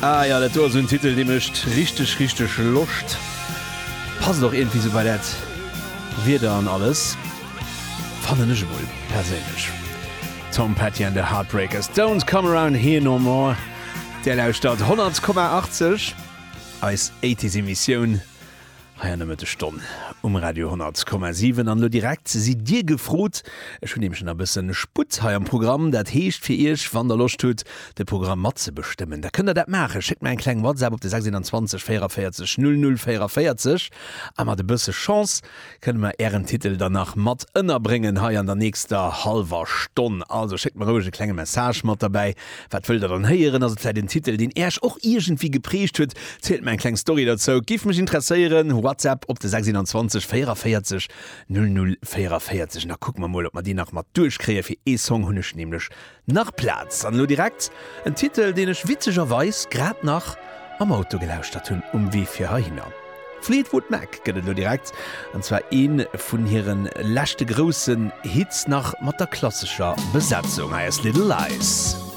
Ah jo, dat do ass en Titel, dee mécht richteg, richteg Loscht. Passt och iergendwéi sou bei dat Wieder an alles, fannen ech emol perséinlech. Tom Petty and the Heartbreakers, Don't Come Around Here No More. Där lauschtert 100,80, eis 80s Emissioun. Hei an der Mëttesstonn um Radio 100,7. An elo direkt sidd Dir gefrot. Ech hunn nämlech nach e bëssen Sputt hei am Programm. Dat heescht fir Iech, wann Der Loscht hutt, de Programm matzebestëmmen, da kënnt Der dat maachen. Schéckt mer eng kleng WhatsApp op de 621 44 00 44 a mat e bësse Chance kënne mer Ären Titel dann nach mat ënnerbréngen hei an der nächster hallwer Stonn. Also schéckt mer roueg e klenge Message mat derbäi. Wat wëllt der dann héieren? Ass et vläit en Titel, deen Äerch och iergendwéi geprägt huet? Zielt mer eng kleng Story derzou, giff mech interesséieren. WhatsApp op de 621 44 00 44 an da kucke mer mol, ob mer deen nach mat duerchkréien. Fir ee Song hunn ech nämlech Nach Plaz! An elo direkt en Titel, deen ech witzegerweis grad nach am Auto gelauschtert hunn um Wee fir heihinner. Fleetwood Mac gëtt et elo direkt, an zwar ee vun hire leschte groussen Hits nach mat der klassescher Besetzung. Hei ass Little Lies.